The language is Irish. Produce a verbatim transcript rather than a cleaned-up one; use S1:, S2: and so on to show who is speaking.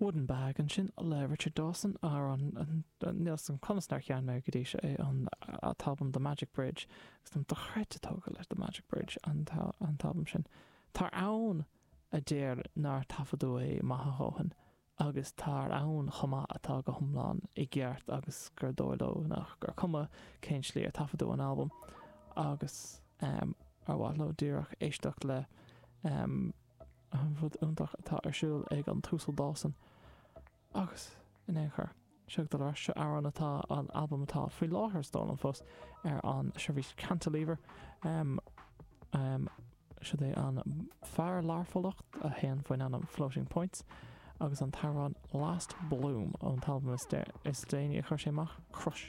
S1: Wooden Bag ansin le Richard Dawson ar an níl san conas nár chean mé go dtí seo é an t-albam The Magic Bridge agus tá dochreidte tógtha leis The Magic Bridge an t-albam sin. Tá ann a deir nár taifeadadh é maith a dhóthain agus tá ann chomh maith atá go hiomlán i gceart agus gur dóigh leo nach gur cuma cén slí ar taifeadadh an albam agus um, ar mhaith leo díreach éisteacht le um, an rud iontach atá ar siúl ag an tUasal Dawson agus in aon chor seo do leis seo amhrán atá an albam atá faoi láthair stól an fós ar an seirbhís Cantilever um, um, Seo é an fear Learphollach a théann faoin ainm Floating Points agus an t-amhrán Last Bloom ón albam is déanaí a chuir sé amach Crush.